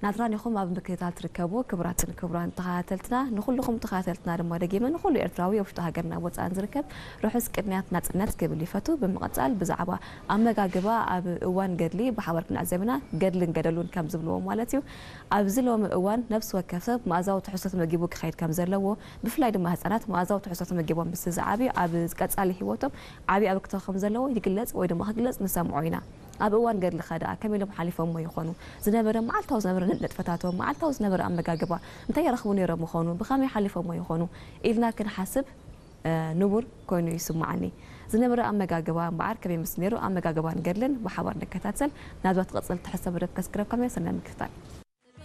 ናትራን ኢኹም ኣብ ምክትታል ትርከቡ። ክቡራትን ክቡራን ተኸታተልትና፣ ንኹልኹም ተኸታተልትና ድማ ደጊመ ንኹሉ ኤርትራዊ ኣብ ውሽጢ ሃገርና ወጻእን ዝርከብ ርሑስ ቅንያት ናጽነት ክብል ይፈቱ። ብምቕጻል ብዛዕባ ኣመጋግባ ኣብ እዋን ገድሊ ብሓባር ክንዕዘብ ኢና። ገድልን ገደሉን ከም ዝብልዎ ማለት እዩ። ኣብዚ ሎሚ እዋን ነፍሲ ወከፍ ሰብ መኣዛዊ ትሕዝቶ ተመጊቡ ክኸይድ ከም ዘለዎ፣ ብፍላይ ድማ ህጻናት መኣዛዊ ትሕዝቶ ተመጊቦም ምስ ዝዓብዩ ኣብ ቀጻሊ ህይወቶም ዓቢ ኣበርክቶ ከም ዘለዎ ይግለጽ ወይ ድማ ክግለጽ ንሰምዖ ኢና። ኣብ እዋን ገድልኸ ደኣ ከመይ ኢሎም ሓሊፎሞ ይኾኑ? ዝነበረ መዓልታዊ ዝነበረ ንጥፈታቶም፣ መዓልታዊ ዝነበረ ኣመጋግባ እንታይ ይረኽቡ ነይሮም ይኾኑ? ብኸመይ ሓሊፎሞ ይኾኑ? ኢልና ክንሓስብ ንቡር ኮይኑ ይስምዓኒ። ዝነበረ ኣመጋግባ እምበኣር ከመይ ምስ ነይሩ ኣመጋግባን ገድልን ብሓባር ንከታተል። ናብዛ ትቕጽል ትሕዝቶ መደብ ከስክረብካም እየ። ሰናይ ምክትታል።